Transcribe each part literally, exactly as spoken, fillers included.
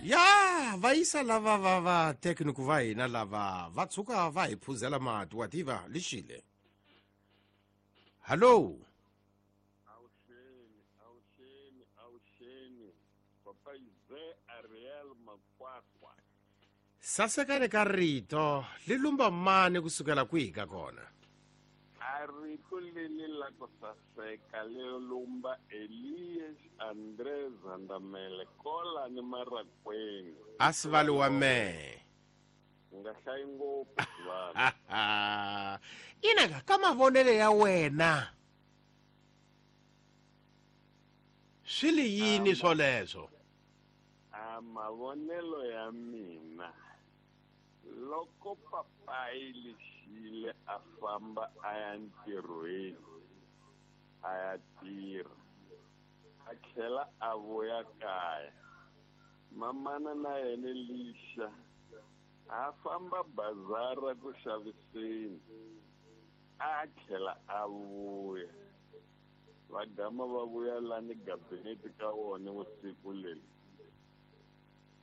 Ya va yisa lava va va tekniku va hina lava va tshuka va hi phuzela mati wa tiva lixile. Hallo. Awuxeni, awuxeni, awuxeni. Papa Ize Ariel Makwakwa. Sasekani ka rito li lumba mani kusukela kwihi ka kona? A rito leli la ku saseka li lumba Elias André Zandamele kola ni Marakweni. A sivali wa mehe. U nga hlayi ngopfu sivali. Inaka ka mavonelo ya wena swi li yini swoleswo? A mavonelo ya mina loko papayi lexile a famba a ya ntirhweni a ya tirha a tlhela a vuya kaya, mamana na yena lixa a famba bazara ku xaviseni a tlhela a vuya, va gama va vuya lani gabinete ka wona vusiku leri.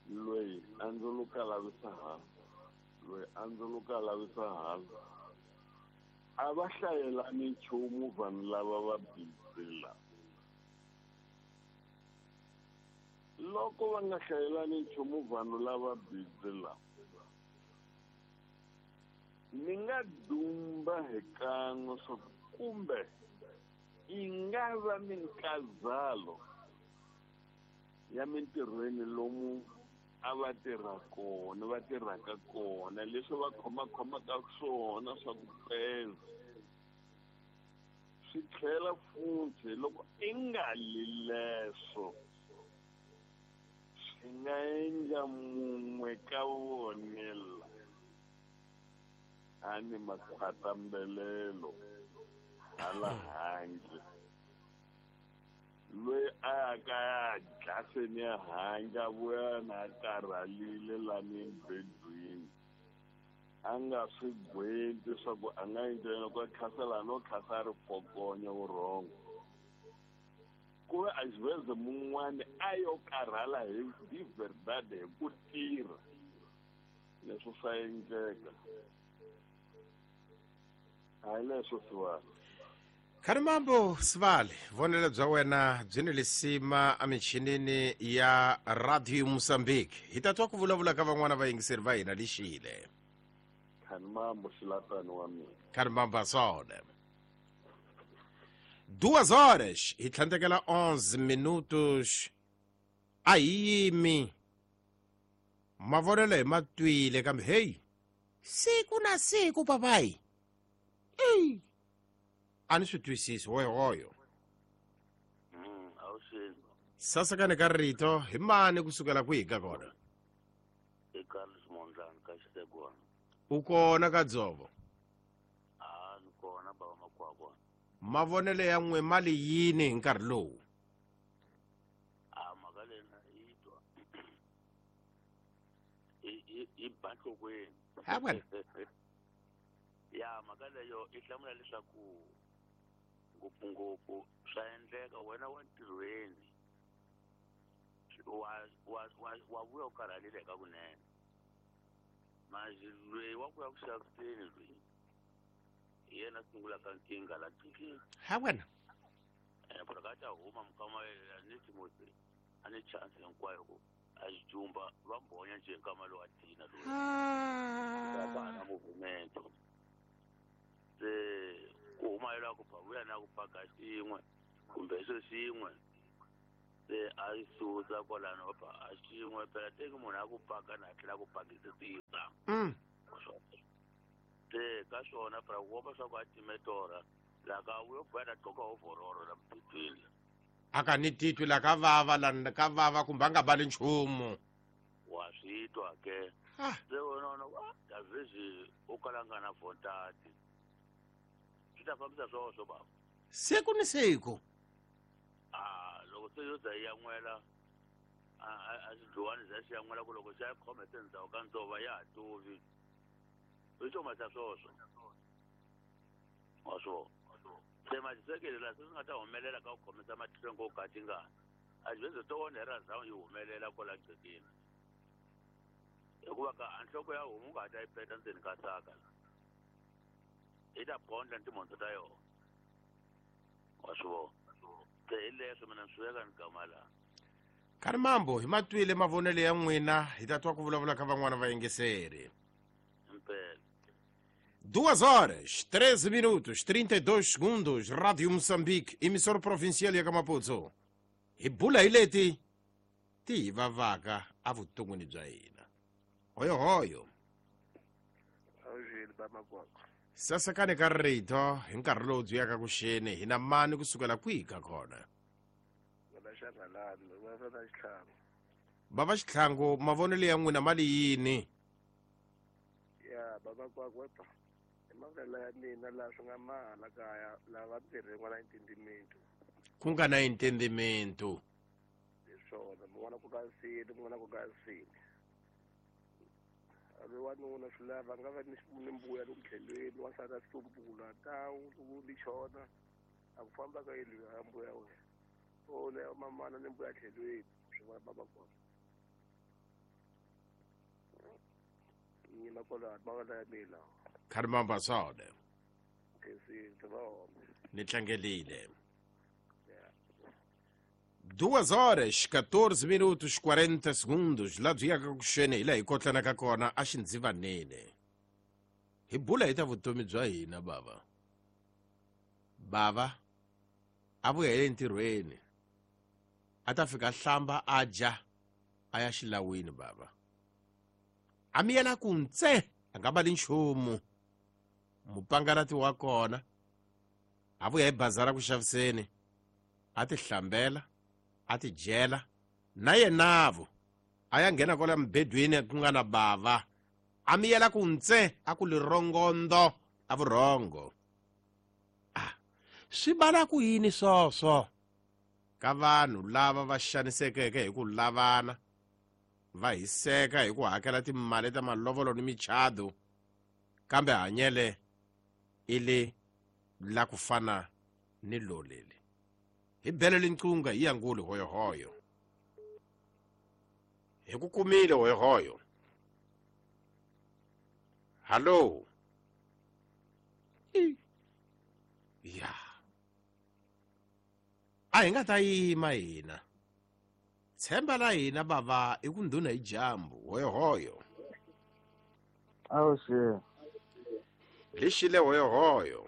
Loyi a ndzuluka lavisa hala, loyi a ndzuluka lavisa hala, a va hlayelani nchumu vanhu lava va busy lava. Loko va nga hlayelani nchumu vanhu lava busy lava, ni nga dumba hi kan'we swa ku kumbe yi nga va minkazalo ya mintirhweni lomu a va tirha kona, va tirhaka kona, leswi va khomakhomaka swona swa ku peza swi tlhela futhi loko i nga li leswo swi nga endla mun'we ka vona la a ni makhwatambelelo hala handle, loyi a ya ka ya dlaseni ya handle a vuya na a karhalile lani embedweni, a nga swi gweti swa ku a nga endla yini, loko a khasela no khasa a ri fokonya vurhongo, ku ve a xiveze mun'wani a yo karhala hi di verdade hi ku tirha, leswo swa endleka. A hi leswo sivali. Kharimambo Sivali, vonelo bya wena byi ni lisima emichinini ya Radio Mozambique. Hi ta twa ku vulavula ka van'wana vayingiseri va hina lixile. Kharimambo xilatani wa mina. Kharimambo asone. Duas horas hi tlhandlekela onze minutos. A hi yimi. Mavonelo hi ma twile kambe hey, siku na siku papayi. Ey. A ni swi twisisi hoyohoyo. Mm, awuxeni. Sasekani ka rito hi mani kusukela kwihi ka kona? I Carlos Mondlane ka Xitegwana. U kona ka Dzovo? A ni kona baba Makwakwa. Mavonelo ya n'we ma li yini hi nkarhi lowu? A mhaka leyi na yi twa. I, i, i ba nhlokweni. Ha wena. Ya mhaka leyo i hlamula leswaku ngopfungopfu swa endleka wena wa ntirhweni wa, wa, wa, wa vuya u karhalile eka kunene, manje loyi wa ku ya ku xaviseni loyi hi yena sungulaka nkingha la qhekeni. Ha wena. Eh, ku ka ta huma mukama ni Timothy a ni chance hinkwayo ku a xi jumba va mbhonya njhe nkama lowu a tina loyi. Ah. Va na movement. Se ku huma yela ku vuya na ku paka xin'we kumbe xo xin'we, se a yi susa kwalano va a xin'we phela teki munhu a ku paka na tlhela ku pakisa sisa. Mm. Se ka swona phela ku komba swa ku a time torha la ka vuyo vuya na gqoka overall la mubedweni. A ka ni titwi la ka vava la ka vava kumbe a nga bali nchumu. Wa swi twa ke. Ah. Se wena u na, David u kala nga na vontati. Swi ta fambisa swoswo baba. Siku ni siku. Ah, loko se yo za yi yan'wela, a, a, a xidluwani xa xi yan'wela ku loko xa yi khome se ndzhaku ka ndzova ya ha tuvi. I xo swoswo. Wa swona. Se maxisekelo laha se swi nga ta humelela ka ku khomisa matlhelo ngo ka tingana. A xi veze to onhera ndhawu yi humelela kwala qhekeni. Hikuva ka a nhloko ya homu u nga ha ta yi peta ndzeni ka saka la. Yi ta bondla ni timhondzo ta yona. Wa swi vona. Se hi leswo mina ni swi veka ni gama laha. Kani mambo hi matwile mavonelo ya n'wina hi ta twa ku vulavula ka van'wana vayingiseri. Impela. Duas horas, treze minutos, trinta e dois segundos, Rádio Moçambique, emissora provincial ya ka Maputo. Hi bula hi leti ti hi vavaka evuton'wini bya hina. Hoyohoyo. Awujeli bamakwakwa. Sasekani ka rito hi nkarhi lowu byi yaka ku xeni hi na mani kusukela kwihi ka kona? Bava Xitlhangu, mavonelo ya n'wina mali yini? Ya bamakwakwa i mavonelo ya mina laha swi nga mahala kaya lava tirhi n'wana intendimento. Ku nga na intendimento. Hi swona, mun'wana ku ka nsini, mun'wana ku ka nsini. A ri wanuna swi lava nga va ni ni mbuya loku tlhelweni, wansati a hlumbula tawu loko ni chona a ku famba ka yini ya mbuya wena. O le mamana ni mbuya tlhelweni, swi va bamakwakwa. Nyima kwala mavonelo ya mina. Khari mamba sode. Ni tlangelile. Duas horas, quatorze minutos, quarenta segundos. Laha byi yaka ku xeni hi laha hi kotlanaka kona a xindzivaneni. Hi bula hi ta vutomi bya hina bava. Bava a vuya hi le ntirhweni. A ta fika hlamba a dya a ya xilawini bava. A miyela ku ntse a nga vali nchumu. Mupangalati wa kona a vuya hi bazara ku xaviseni a ti hlambela a ti dyela na yenavo a ya nghena kwala mubedweni ku nga na bava a miyela ku ntse a ku lirongondo a vurhongo. Ah, swi bala ku yini swoswo ka vanhu lava va xanisekeke hi ku lavana va hiseka hi ku hakela timali ta malovolo ni michado kambe hanyele i le la ku fana ni lolele. Hi belele nqunga hi yanguli hoyohoyo. Hi ku kumile hoyohoyo. Hallo. Ya. A hi nga ta yima hina. Tshemba la hina bava i ku ndhuna hi dyambu hoyohoyo. Awuxe. Lexile hoyohoyo.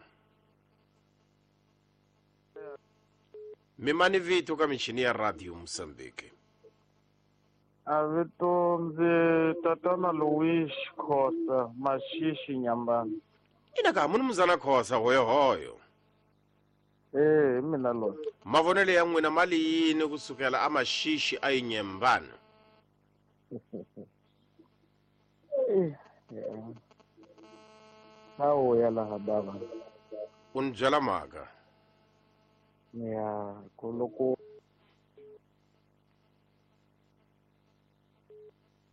Mimani vito ka michini ya Radio Mozambique. A vito ndzi tatana Louis Khosa Mashishi Nyambana. Ina ka munhu muzana Khosa hoyohoyo. Eh, hi mina loyi. Mavonelo ya n'wina mali yini kusukela a Mashishi a Yinyembana? Hawu ya laha bava. U ni byela mhaka. Ya, ku loko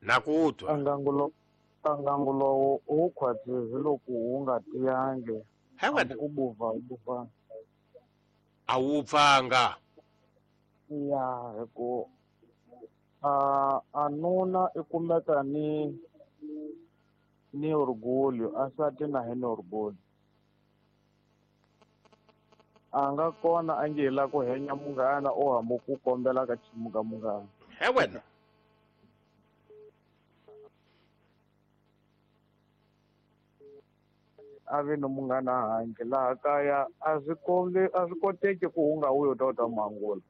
na ku twa. Ngangulo ngangulo lowu wu khwatsi hi loko wu nga tiyangi. Hi wena. U buva u buva. A wu pfanga. Ya, hi ku a a nuna i kumeka ni ni orgulho a sati na hi ni orgulho. A nga kona a nge la ku henya munghana o hambu ku kombela ka chimuka munghana. He wena. A vi no munghana handle laha kaya a swi kombi a swi koteki ku u nga wuyi u ta u ta mangula.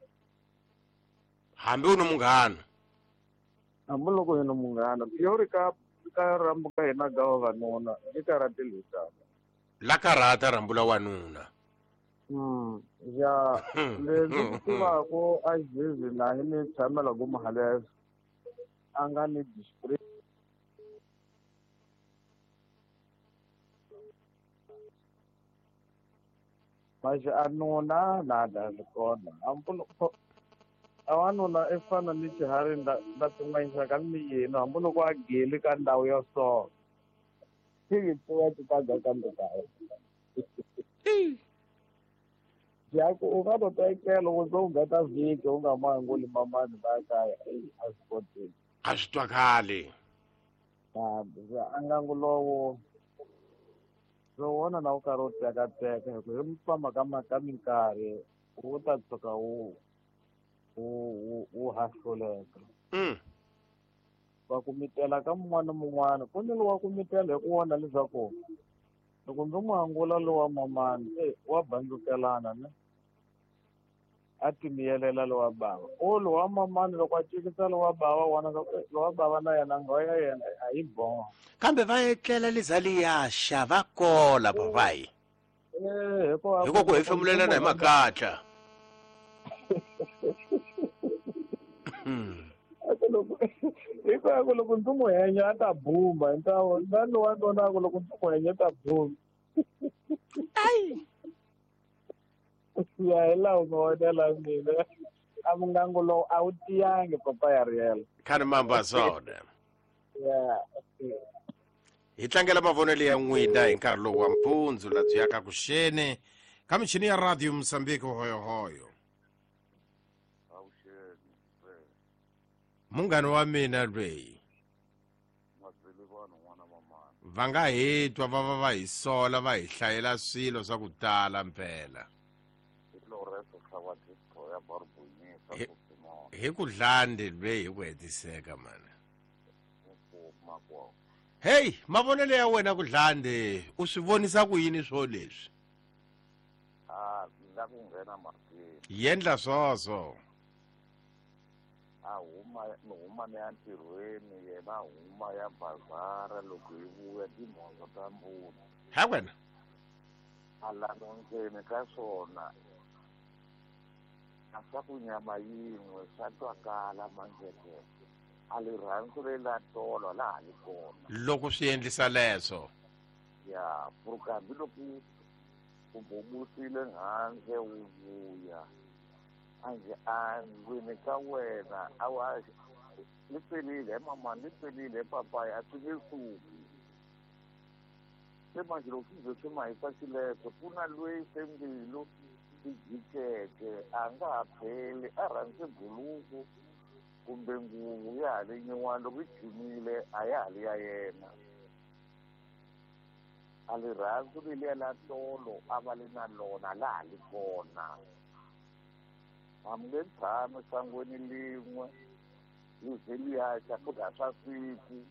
Hambi u no munghana. Hambi loko hi no munghana pure ka ka rambu ka hina ga vavanuna i karate lutana. La karata rambu la wanuna. Mm ya leswi tivaka a jizi na hi ni tshamela ku mahalesa a nga ni display. Mas a nuna nada swi kona hambi a wanuna i fana ni xiharhi nda nda pimanyisa ka ni yena hambi loko a geli ka ndhawu ya so xi pfuka xi ta ga kambe kaya. Jaku u nga to tekela u zo gata vhiki u nga manguli mamani va kaya a swi koteki. A swi twakali. A ngangu lowo wona na wu karhi wu tekateka hi ku hi famba ka ka minkarhi wu ta tshuka wu wu wu hahluleka. Va ku mitela ka mun'wana na mun'wana ku ni lowa ku mitela hi ku vona leswaku loko ndzi n'wi angula lowa mamani e wa bandzukelana ne a timiyelela lowa bava o lowa mamani loko a cikisa lowa bava wona lowa bava na yena nghoya ya yena a yi boha kambe va etlela lizaliyaxa va kola papayi eh hikuva hiko ku hefemulelana hi makatla. Hikuva ku loko ndzi n'wi henya a ta bumba hi ta na lowa nona ku loko ndzi n'wi henya ta bumba. Ai ya hi laha u nga vonela mina a mungangu lowu a wu tiyangi papa ya riela khani mamba swona. Ya hi tlangela mavonelo ya n'wina hi nkarhi lowu wa mpundzu la byi yaka kuxeni ka michini ya radio Mozambique hoyohoyo. Munghana wa mina lweyi va nga hi twa va va va hi sola va hi hlayela swilo swa ku tala mpela hi ku dlande lweyi hi ku hetiseka mani. Hey mavonelo ya wena ku dlande u swi vonisa ku yini swo leswi? A ndza ku nghena mahlweni yendla swoswo. A huma ni huma ni ya ntirhweni yena huma ya bazara loko hi vuya timhondzo ta mbuti ha wena a lava ndzeni ka swona a swa ku nyama yin'we swa twakala manjeke a rirhandzu lela tolo laha li kona loko swi endlisa leswo ya pfuka hambiloko u bubusile handle wu vuya anje a ndlwini ka wena a wa ni pelile mama ni pelile papaya a swi nge suki se manje loko swi ze swi mahisa xileswo ku na lweyi se mbilu swi jikeke a nga ha pheli a rhandze buluku kumbe nguvu ya ha le nyuwani loko yi jimile a ya ha li ya yena a rirhandzu leliya la tolo a va li na lona laha ha li kona. A mi nge tshami sangweni lin'we li ze liyaxa futhi a swa siku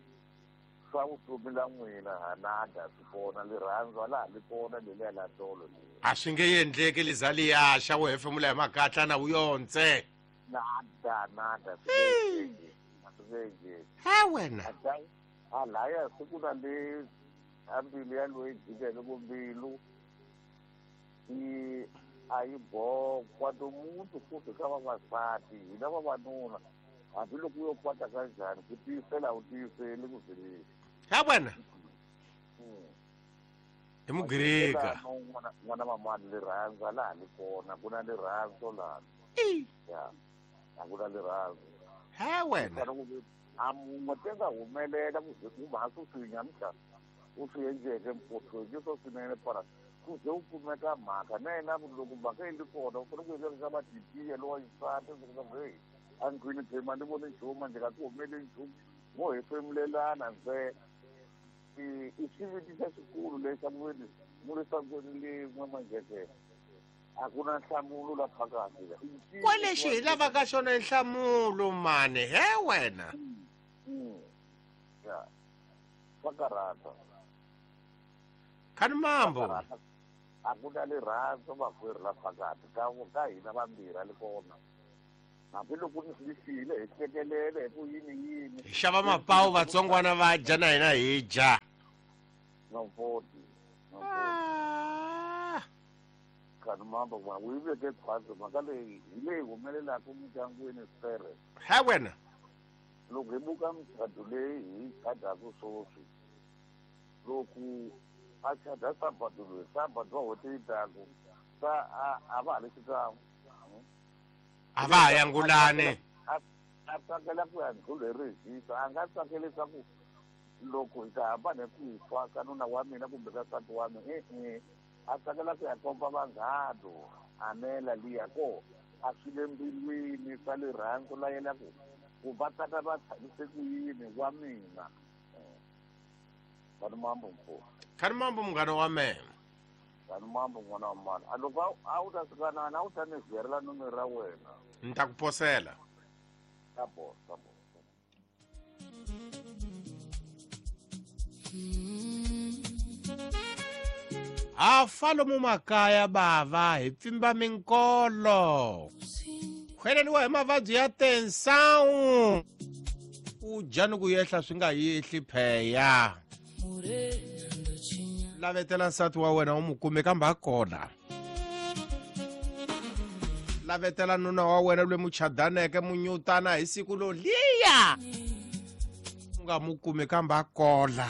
swa vutomi la n'wina hanada swi kona rirhandzu a laha li kona leliya la tolo leri a swi nge endleki lizaliyaxa wu hefemula hi makatla na wu yontse nada nada swi nge endleki a swi nge endleki ha wena a laya siku na le a mbilu ya loyi jikeke ku mbilu yi a yi bokwa tomuntu futhi ka vavasati hina vavanuna hambiloko u yo kwata ka njhani ku tiyisela a wu tiyiseli ku zeleni ha wena hi mugirika n'wana mamani rirhandzu a laha li kona ku na rirhandzu lani ya a ku na rirhandzu ha wena a mun'we te nga humelela ku ze ku mhasi u swi nyamuhla u swi endleke mphothweni swo swinene para ku ze u kumeka mhaka na yena loko mhaka yi li kona u fanele ku endla leswaku va titiya lowa xisati leswaku heyi a ndlwini phema ni voni nchumu ndzi nga ku humeli nchumu mo hefemulelana ntsena i xiviti xa xikulu lexi a ku veni mu le sangweni lin'we manjeke a ku na nhlamulo la phakathi kwalexi hi lavaka xona nhlamulo mani he wena ya swa karhata khani mambo a ku na rirhandzu makwerhu la phakathi ka ka hina vambirhi a li kona hambiloko ni swi xile hi hlekelele hi ku yini yini hi xava mapawu vatsongwana va dya na hina hi dya nomfoti khani mambo ma wu yi veke khwatsi mhaka leyi hi leyi humelelaka mindyangwini sere ha wena loko hi buka muchado leyi hi yi chadaku swoswi loko a chada sabado loyi sabado wa n'hweti yi taku sa a a va ha li xikan'we a va ha yangulani a tsakela ku ya ndlhula hi rihisa a nga tsakeli leswaku loko hi ta hambana hi ku fa ka nuna wa mina kumbe ka nsati wa mina e-e a tsakela ku ya komba vanghana anela liya ko a swi le mbilwini swa rirhandzu la yena ku ku va tata va tshamise ku yini wa mina. Kani mambo mkuu. Kani mambo munghana wa mina. Kani mambo n'wana wa mani. A loko a wu ta fika na u ta ni ziyarela nomero ra wena. Ni ta ku posela. Ta bo, ta bo. Ha fa lomu makaya bava hi pfimba minkolo. Khweleriwa hi mavabyi ya tensão. U dya ni ku yehla swi nga yehli pheya. Lavetela nsati wa wena u mu kume kambe a kona. Lavetela nuna wa wena loyi muchadaneke munyutana hi siku lo liya. U nga mu kumi kambe a kola.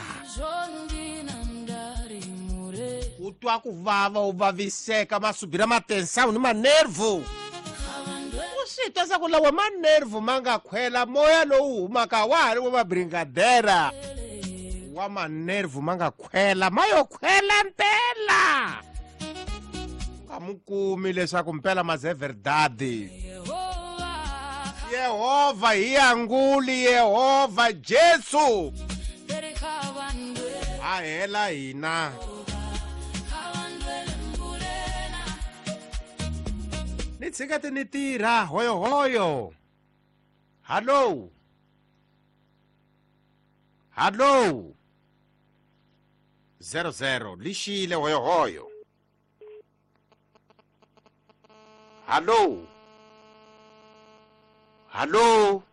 U twa ku vava u vaviseka masubira ma tensão ni manervu. U swi twa swa ku lawa manervu ma nga khwela moya lowu humaka wa ha ri wa mabringadera. Wa manervu ma nga khwela ma yo khwela mpela. Nga mu kumi leswaku mpela mas é verdade. Yehova hi anguli Yehova Jesu. A hela hina. Ni tshika ti ni tirha hoyo hoyo. Hallo. Hallo. Zero zero lixile hoyo hoyo. Hallo. Hallo.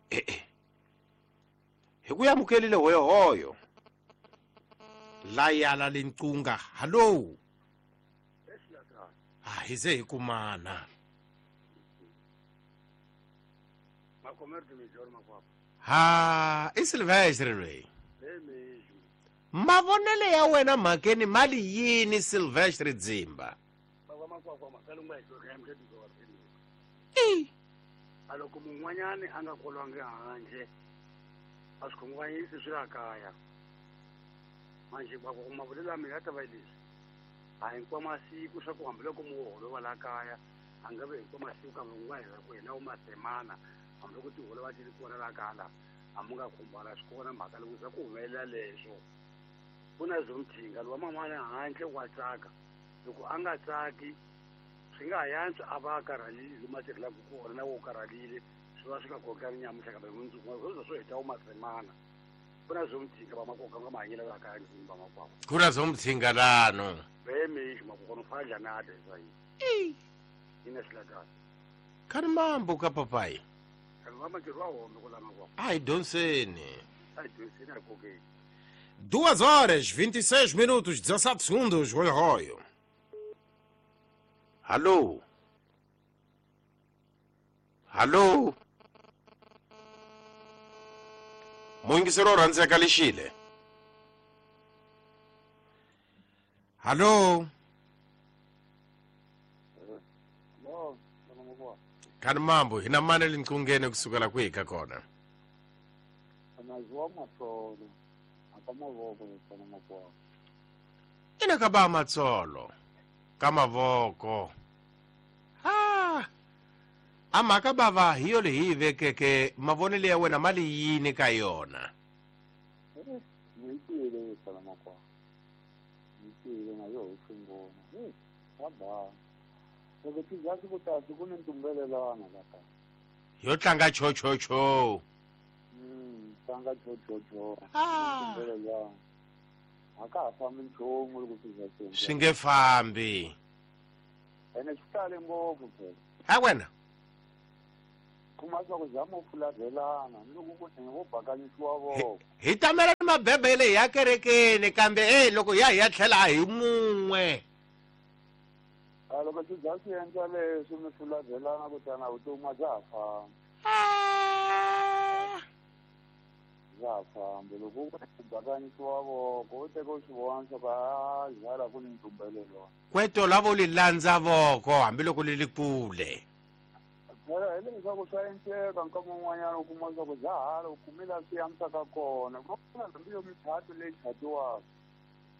Eh eh. Hi ku amukelile hoyo hoyo. La yala linqunga. Hallo. Ah, hi ze hi kumana. Ha, i Silvestre loyi. Mavonelo ya wena mhakeni mali yini Silvestre Dzimba? A loko mun'wanyani a nga kolwangi handle a swi khunguvanyisi swi la kaya manje mavulelo ya mina ya ta va leswi a hinkwa masiku swa ku hambiloko muholo wa la kaya a nga vi hinkwa masiku kambe ku nga hela ku hela wu masemana hambiloko tiholo va ti ri kona la kala a mu nga khumbana swi kona mhaka loko za ku humelela leswo ku na zomthinga lowa man'wana handle wa tsaka loko a nga tsaki swi nga ha yantswa a va a karhalile lomu a tirhelaka kona na wo karhalile swi va swi nga kokani nyamutlha kambe mundzuku swo swo heta wu masemana ku na zomthinga va makoka nga mahanyelo la kaya ndzini va makwavo ku na zomthinga lano vemixi makoko no fadla na adesa yi ina xilakana kani mambo ka papai kani va matirho wa home ku la makwavo a hi dyondzeni a hi dyondzeni a hi kokeni. Duas horas, vinte e seis minutos, dezassete segundos, roio roio. Alô? Alô? Muyingiseri wo rhandzeka lexile. Alô? Kani mambo, hina mani linqungeni kusukela kwihi ka kona? Ina ka ba matsolo ka mavoko. Ha! A mhaka bava hi yo leyi hi vekeke mavonelo ya wena mali yini ka yona? Yo tlanga cho cho cho. Tlanga cho cho cho. Ah. A ka ha fambi nchumu loko swi za swi swi nge fambi. Ene swi tale ngopfu phela. Ha wena? Kuma swa ku zama u fularhelana ni loko ku vo bakanyisiwa voko. Hi tamela ni mabebele ya kerekeni kambe eh loko ya hi ya tlhela a hi mun'we. A loko swi za swi endla leswi mi fularhelana kutani vutomi a bya ha fambi. Bya ha fambi loko ku bakanyisiwa voko u teka u swi vona swa ku a zala ku ni ntumbelelo. Kweto lavo li landza voko hambiloko li li kule. Phela hi leswaku swa endleka nkama wun'wanyana u kuma leswaku bya hala u kumi laha swi antswaka kona ku na hambi yo michato leyi chatiwaka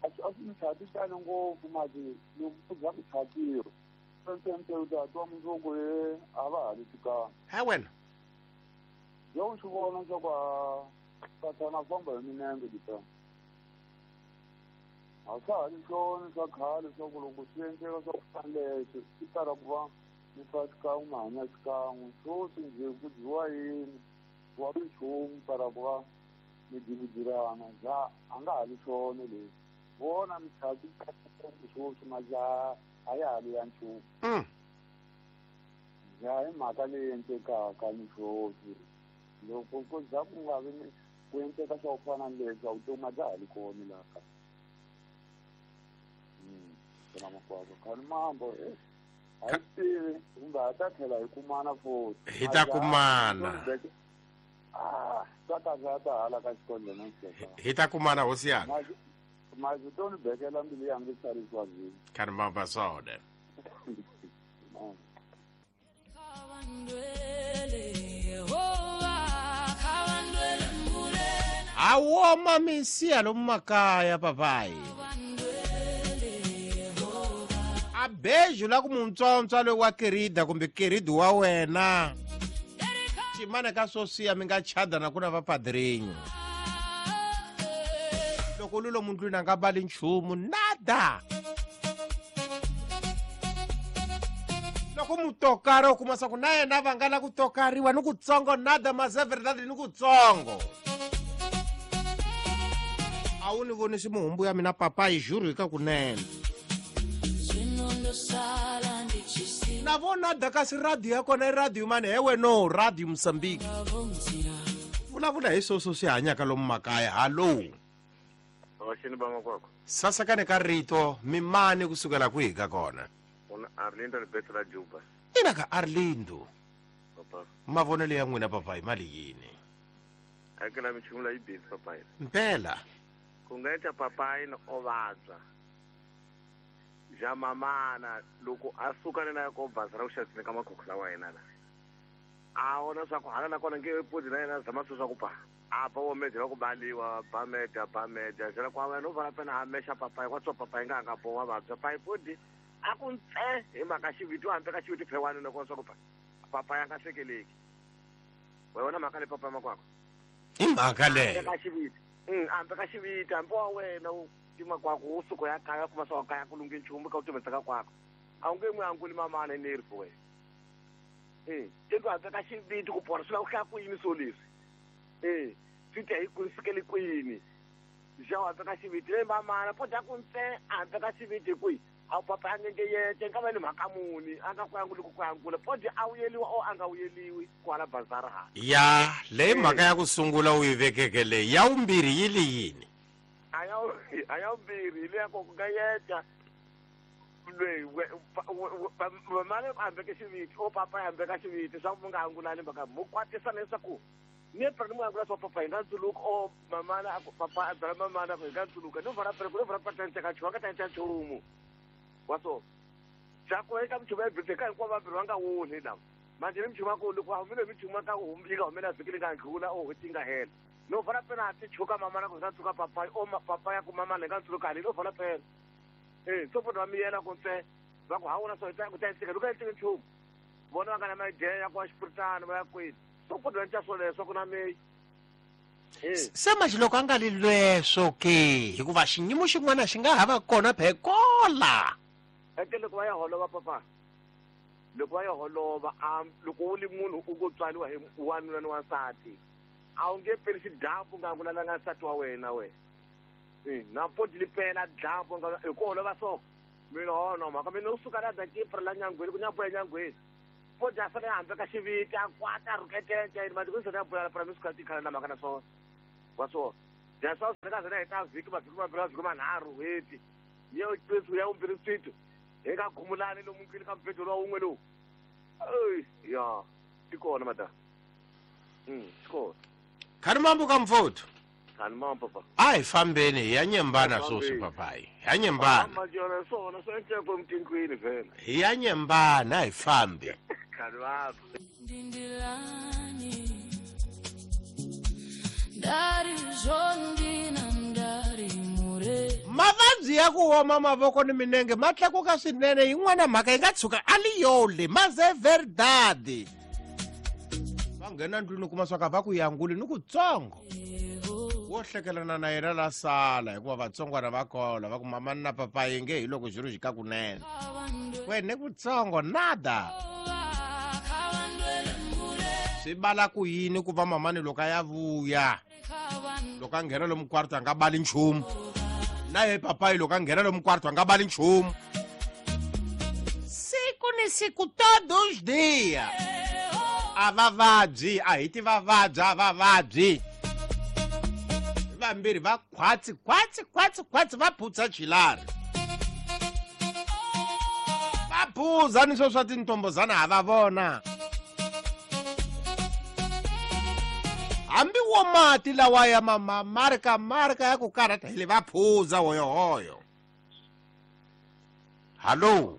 a swi a swi michati tani ngopfu mati loko ku za ku chatiwa ntsentse u ta twa mundzuku ye a va ha ri tikanga. Ha wena? Yo u swi vona leswaku a Sathana famba hi minenge dita. A swa ha ri swona swa khale swa ku loko swi endleka swa ku fana leswi swi tala ku va mi fa xikan'we mi hanya xikan'we sweswi njhe ku dyiwa yini wa nchumu para ku va mi dividirana ja a nga ha ri swona leswi vona michato sweswi majaha a ya ha ri ya nchumu ja hi mhaka leyi endlekaka ni sweswi loko ku za ku nga vi ku endleka swa ku fana ni leswi a vutomi a bya ha ri kona laha kaya. Hi ta kumana hi ta kumana hosi yanga khani mamba swona a woma misiya lomu makaya papayi a beju la ku muntsontswa loyi wa kerida kumbe keridi wa wena ximana ka swo siya mi nga chada na ku na vapadrinho loko lulo mundlwini a nga bali nchumu nada loko mutokari u kuma swa ku na yena va nga la ku tokariwa ni kutsongo nada mas é verdade ni kutsongo a wu ni vonisi muhumbu ya mina papayi juru hi ka kunene na vona kasi radio ya kona i radio mani hewe no radio Mozambique vulavula hi sweswo swi hanyaka lomu makaya hallo sasakane ka rito mimani kusukela kwihi ka kona Arlindo Alberto la Juba ina ka Arlindo mavonelo ya n'wina papayi mali yini akela michumu la yi busy papayi mpela ku nga endla papayi na o vabya ja mamana loko a suka na ya ko baza ra ku xaviseni ka makhokho lawa yena la a vona swa ku hala na kona nge podi na yena zama swi swa ku pa a ba wo medya ku baliwa ba medya ba medya jela kwa wena u vala pena a mexa papayi kwa tswa papayi nga nga bowa vabya payi podi a ku ntse hi mhaka xiviti hambi ka xiviti phewani na kona swa ku pa papayi a nga hlekeleki wa yona mhaka le papayi makwako i mhaka leyo ka xiviti hambi ka xiviti hambi wa wena u makwako wo suka ya kaya kuma swa kaya ku lunghe nchumu ka u timetsaka kwako a wu nge n'wi anguli mamana enerfu wena e tendo hambi ka xiviti ku pona swi lava ku hlaya ku yini swo leswi e swi ta hi ku sukele kwini ja hambi ka xiviti leyi mamana po dya ku ntse hambi ka xiviti hi kwihi a papa a ngenge yete nga va ni mhaka muni a nga ku anguli ku ku angula po dya a wuyeliwa o a nga wuyeliwi kwala bazara ha ya leyi mhaka ya ku sungula u yi vekeke leyi ya vumbirhi yi li yini a ya vumbirhi hi leya ku nga yeta loyi mamana a hambeke xiviti o papa ya hambeka xiviti swa ku mu nga angulani mhaka mu kwatisa leswaku ni pera ni mu angula swa papa hi nga ntsuluka o mamana a ku papa a byela mamana ku hi nga ntsuluka ni vona pera ku ni vona pera ta nchumu a nga ta nca nchumu wa so ja ku eka michumu ya bese ka hinkwavo vambirhi va nga woni lava manje ni michumu ya ku loko va humile michumu ka yi nga humela vhiki li nga ndlula o hweti yi nga hela no vona pena a ti chuka mamana ku hi nga tshuka papayi o papa ya ku mamana hi nga ntsuluka haleni o vona pena e so pona va miyela ku ntse va ku ha wona so ku ta endleka loko endleke nchumu vona va nga na maidea ya ku wa xipuritana va ya kwini so pona va endla swoleswo ku na meyi se manje loko a nga li lweswo ke hikuva xinyimo xin'wana xi nga ha va kona phekola eke loko va ya holova papa loko va ya holova a loko u li munhu u ngo tswariwa hi wanuna ni wansati a wu nge peli xidyambu nga angulalanga nsati wa wena we na podi li pela dyambu hi ku holova so mina hona mhaka mina u suka la dakipra la nyangweni ku nyambo ya nyangweni podi a fanele a hambi ka xiviti a kwata a rhuketente yini mati ku sona ya boyala pra mi suka tikhala na mhaka na swona wa swona ja swa ka zona hi ta vhiki mavhiki mambirhi mavhiki manharhu hweti ya ya vumbirhi swito hi nga khumulani lomu nkili ka mubedwa lowa wun'we lowu ya ti kona mada ti kona khani mambo ka mfowethu khani mambo papa a hi fambeni hi ya nyembana sweswi papayi hi ya nyembana swona swi endleko emutindlwini vhele hi ya nyembana a hi fambi khani mambo mavabyi ya ku oma mavoko ni minenge ma tlakuka swinene yin'wana mhaka yi nga tshuka a li yole mas é verdade va nghena ndlwini u kuma swa ka va ku yanguli ni kutsongo Wo hlekelana na yena la sala hikuva vatsongwana va kola va ku mamani na papayi nge hi loko xilo xi ka kunene. Wena kutsongo nada. Swi bala ku yini ku va mamani loko a ya vuya loko a nghena lomu kwarto a nga bali nchumu na ye papayi loko a nghena lomu kwarto a nga bali nchumu siku ni siku todos dia a va vabyi a hi ti va vabyi a va vabyi vambirhi va khwatsi khwatsi khwatsi khwatsi va phutsa chilari va phuza ni swo swa tintombozana ha va vona hambi wo mati lawa ya mama marka marka ya ku karhata hi le va phuza hoyohoyo. Hallo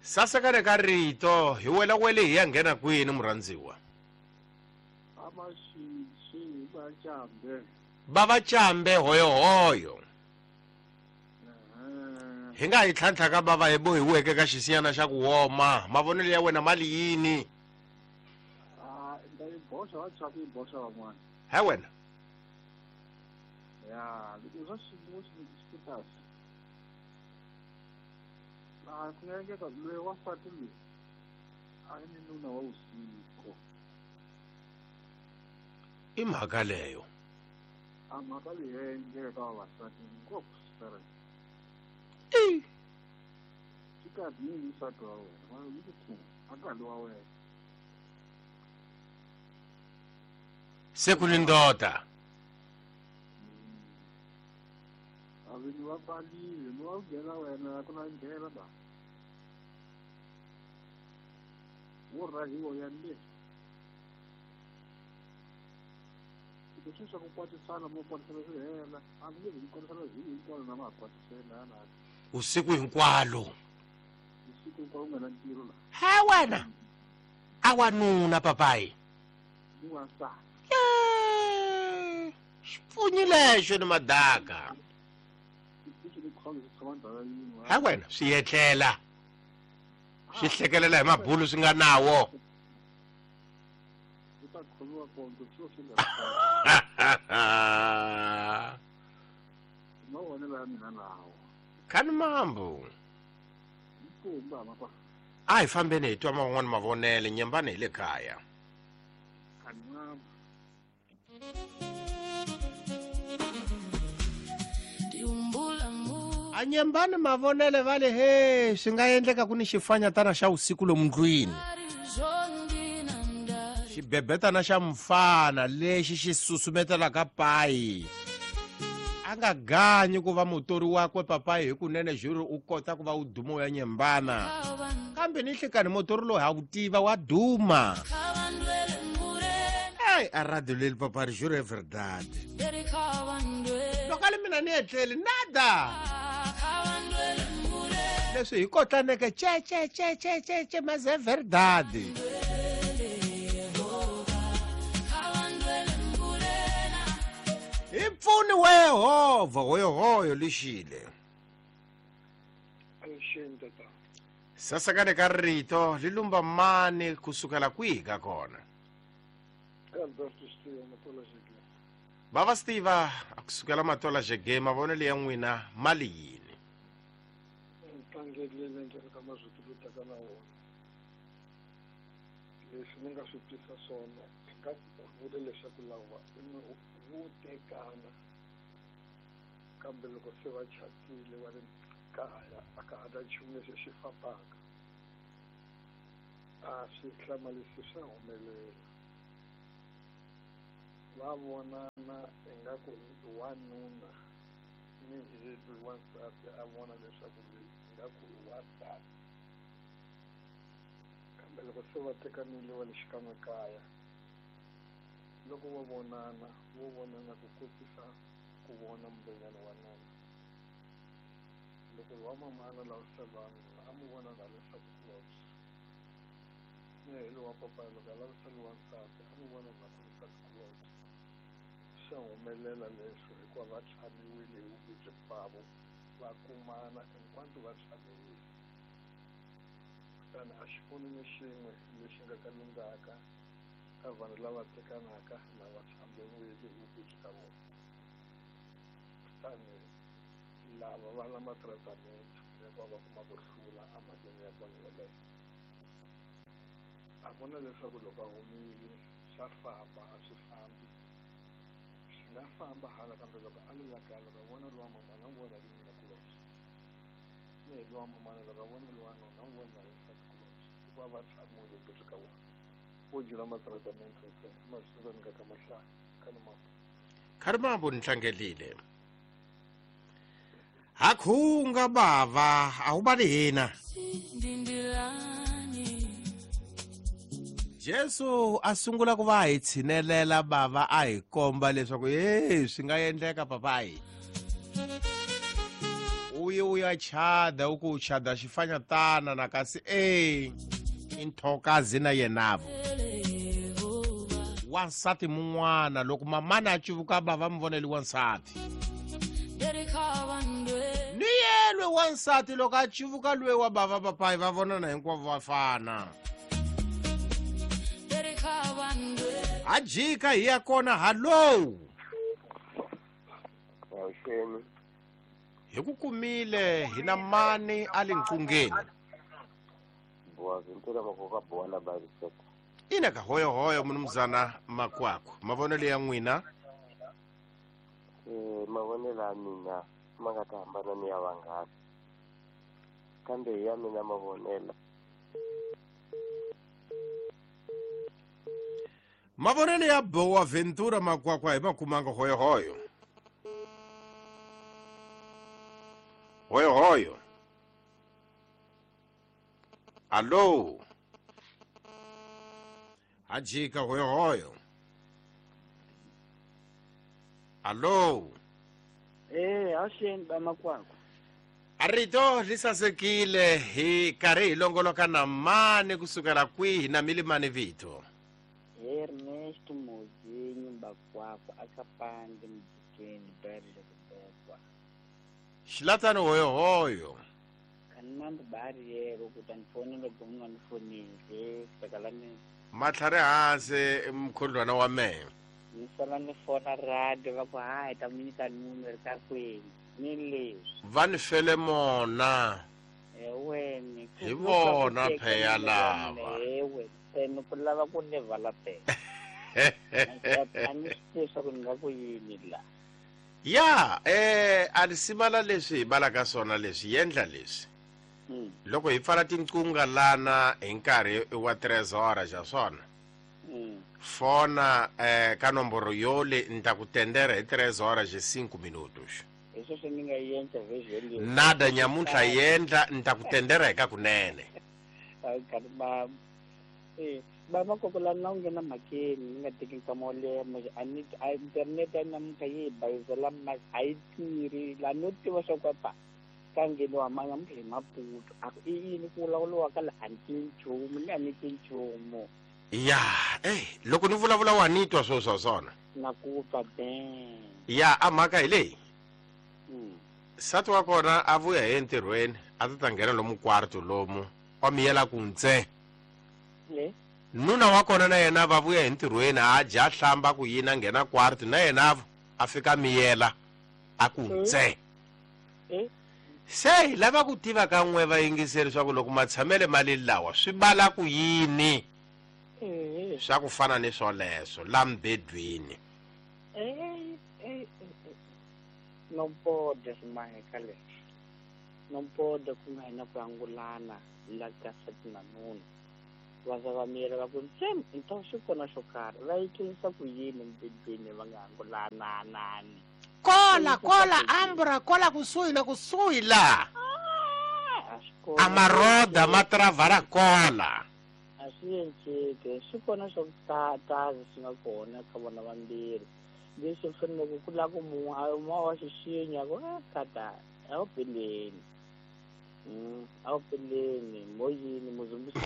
sasekane ka rito hi wela wele hi ya nghena kwini murhandziwa va va cambe hoyohoyo hi nga hi tlhantlha ka bava hi bohiweke ka xisiyana xa ku woma mavonelo ya wena mali yini he wena ya loko swa xiyimo xi kahle a ku nga endleka loyi wansati loyi a ni nuna wa vusiku i mhaka leyo a mhaka leyi ya endleka ka vavasati ngopfu swi i swi kahle ni nsati wa wena wa yi ku thunga a ka wa wena se ku ni ndoda a vinyi va pfalile ni wa ku nghena wena ku na ndlela ba wo rahiwa ya le loko swi swa ku kwatisana mo kwatisana swi hela a mi nge vi kwatisana hi hinkwalo na ma ha kwatisela na usiku hinkwalo usiku hinkwalo u nga na ntirho la he wena a wanuna papayi ni wansati xipfunyi lexo ni madaka he wena swi etlela swi hlekelela hi mabulu swi nga nawo khani mambo a hi fambeni hi twa man'wani mavonele nyembani hi le kaya a nyembani mavonele va le he swi nga endleka ku ni xifanyatana xa usiku lomu ndlwini xibebetana xa mfana lexi xi susumetelaka payi a nga ganyi ku va mutori wakwe papayi hi kunene juri u kota ku va u duma u ya nyembana kambe ni nhlekani mutori loyi ha wu tiva wa duma ei a radio leli papari juro é verdade loko a li mina ni etleli nada leswi hi kotlaneke ce ce ce ce ce ce mas é verdade hi pfuni wa Yehovha hoyohoyo lexile sasekane ka rito li lumba mani kusukela kwihi ka kona bava swi tiva a kusukela Matola Jege mavonelo ya n'wina mali yini tlangelele ndlela ka mazwiti lo taka na wona leswi ni nga swi twisa swona hi nga vula leswaku lava vo tekana kambe loko se va chatile va ri kaya a ka ha ta nchumu lexi xi fambaka a swi hlamarisi swa humelela va vonana ingaku wanuna ni hi loyi wansati a vona leswaku loyi ingaku i wansati kambe loko se va tekanile va le xikan'we kaya loko va vonana vo vonana ku kotisa ku vona mbenyana wa nuna loko wa mamana lavisela wanuna a mu vona na leswaku kulobye ni hi lowa papa loko a lavisela wansati a mu vona na nsati kulobye swa humelela leswo hikuva va tlhamiwile hi vuvabyi bavo va kumana hinkwato va tlhamiwile kutani a xi pfuni ni xin'we lexi nga ka lunghaka Ka vanhu lava tekanaka lava tshambewile hi ka vona. Kutani lava va na matratamente ya va kuma ku hlula emhakeni ya vona yeleyo. A ku na leswaku loko a humile swa famba a swi fambi. Swi nga famba hala kambe loko a le la kaya loko a vona lowa mamana u vona hi nuna kulobye. Ni hi lowa mamana loko a vona lowa nuna u vona hi nsati kulobye. Hikuva va tshamile ngopfu ka vona. Vo dyela matratamente ntsena ma swi tiva ni nga ka mahlaya ka ni mambo. Kharimambo ni tlangelile. Hakhunga bava awubali hina. Jesu a sungula ku va hi tshinelela bava a hi komba leswaku hey swi nga endleka papayi. Uye uya chada u ku chada xifanyatana na kasi eh inthokazi na yenavo. Wansati mun'wana loko mamana a cuvuka bava mi voneli wansati. Ni yelwe wansati loko a cuvuka lwe wa bava papayi va vonana hinkwavo va fana. Ajika hi ya kona hallo. Hi ku kumile hi na mani a le nqungeni. Ina ka hoyo hoyo mnumzana Makwakwa. Mavonelo ya n'wina? Eh mavonelo ya mina ma nga ta hambana ni ya vanghana. Kambe ya mina mavonelo. Mavonelo ya Boa Ventura Makwakwa hi makumanga hoyo hoyo. Hoyo hoyo. Allo. Ajika hoyo hoyo. Allo. Eh, awuxeni ba Makwakwa. Arito lisasekile hi karhi hi longoloka na mani kusukela kwihi na milimani vito. Ernesto Mozinho Makwakwa akapande mjikeni bari la kubekwa. Xilatano hoyo hoyo. Kanambe bari yero kutanifonela loko unganifoneli takalani. Matlhari hansi mkhondlwana wa mehe. Ni sala ni fona radio va ku hayi ta mi nyika numero ka kwini ni leswi. Va ni fele mona. Eweni. Hi vona pheya lava. Ewe tena ku lava ku ni vala pela. A ni swi tivi swa ku ni nga ku yini la. Ya eh a ni simala leswi hi balaka swona leswi yendla leswi. Loko hi pfala tinqunga lana hi nkarhi wa trezora xa swona. Fona eh ka nomboro yole nta ku tendera hi trezora je cinco minutos. Eso swi ni nga yendla vhezheli. Nada nyamuntlha yendla nta ku tendera hi ka kunene. Ba eh ba Makwakwa la na u nghena mhakeni ni nga teki nkama wo leha a ni a internet ya namuntlha yi hi bayizela a yi tirhi la no tiva swa ku pa ka ngheniwa ma namuntlha hi Maputo a ku i yini ku vulavuriwa ka la a ni tivi nchumu ni a ni tivi nchumu. Ya eh loko ni vulavula wa ni twa swo swa swona. Na ku twa ben. Ya a mhaka hi leyi. Nsati wa kona a vuya hi entirhweni a ta ta nghena lomu kwarto lomu wa miyela ku ntse. Nuna wa kona na yena va vuya hi ntirhweni a dya hlamba ku yini a nghena kwarto na yena a fika miyela a ku ntse. Se hi lava ku tiva ka n'we vayingiseri swa ku loko matshamele mali lawa swi bala ku yini swa ku fana ni swoleswo la mbedweni. No pode swi leswi. No pode ku nga hina ku angulana la ka nsati na nuna. Va za va miyela va ku ntsena nto swi kona xo karhi va yi tlurisa ku yini mbedweni va nga angulananani. Kola kola ambra kola kusuhi na kusuhi la. A maroda matravara kola. A swi enceke swi kona swo tata swi nga kona ka vona vambirhi. Leswi faneleke ku lava ku munhu a ma wa xixinya ku kata a wu peleni. A wu peleni moyini muzumbisi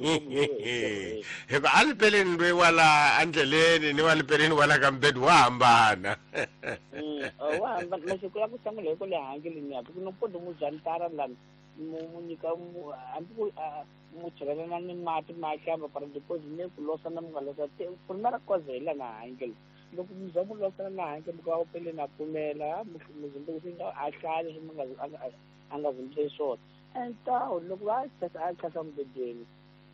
yini. Hikuva a ni peleni loyi wa la endleleni ni wa le peleni wa la ka mbedweni wa hambana. Wa hambana masiku ya ku sungula hi ku le handle ni hambi ku no poti mu jantara lani mu nyika hambi ku mu chelelana ni mati ma hlamba para deposit ne ku losa na mi nga losa primera cosa hi lana hange loko mi za mu losana na hange mi ka pele na pfumela muzimbe swi nga a hlaya leswi mi nga a nga zimbise swona entawu loko va a khasa mubedweni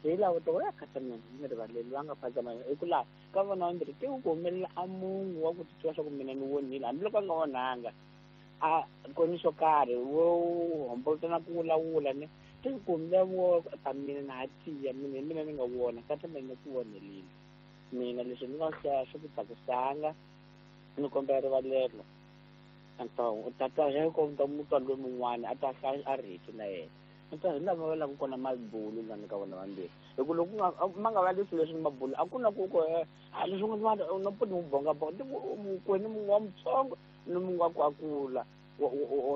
hi laha to ya khasa mina ni rivaleli va nga phazama hi ku laha ka vona vambirhi te ku humelela a munhu wa ku titwa swa ku mina ni wonile hambiloko a nga onhanga a koni swo karhi wo hombolota na ku wulawula ne te ku humelela wo ta mina na ha tiya mina hi mina ni nga vona ka mina ni ku vonelile mina leswi ni nga hlaya swi ku tsakisanga ni kombela rivalelo anto tata hi ko ta mutwa loyi mun'wana a ta hlaya a rito na yena anto hi lava va lava kona mabulu lani ka vona vambirhi hi ku loko ma nga va leswi leswi mabulu a ku na ku ku a leswi nga na poni mu bonga bonga kweni mun'we wa mutsongo ni mun'we wa ku a kula wa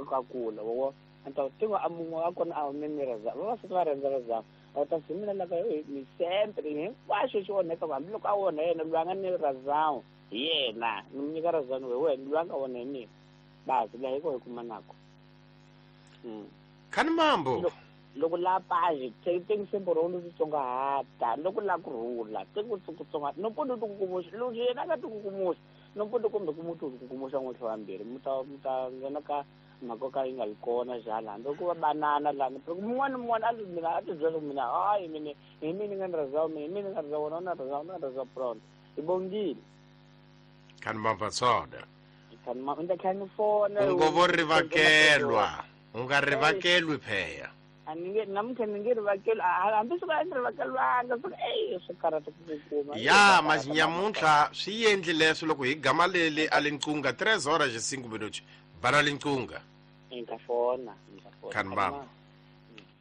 ku a kula wa anto tingo a mun'we a kona a hume ni raza vavasati va rhandza razama a ta si mina laka ni sempre hinkwaswo xi onheka hambiloko a onha yena loyi a nga ni razawu hi yena ni mu nyika razani we wena loyi a nga onha hi mina basi laha hi ko hi kuma nako khani mambo loko la paji teng sembo ro lu tsongahata loko la ku rhula teng ku tsonga no pondo ku kukumuxa loko yena ka tikukumuxa no pondo kumbe ku mutu ku kukumuxa n'we vambirhi mu ta mu ta nghena ka mhaka ka yi nga li kona jala hambi ku va banana lani mun'wana mun'wana a mina a ti byela ku mina hayi mina hi mina nga ni razawu mina hi mina nga razawu wona na razawu na razawu brown hi bongile khani mambo tsona khani mambo nda khani fona u ngo vo rivakelwa u nga rivakelwi pheya a ni nge namuntlha ni nge rivakeli hambi swi ka ni rivakelwanga swi ey swi karhata ku ku kuma ya mazinyamuntlha swi endli leswo loko hi gama leli a linqunga tres horas e cinco minutos bana linqunga nka fona nka fona khani mambo.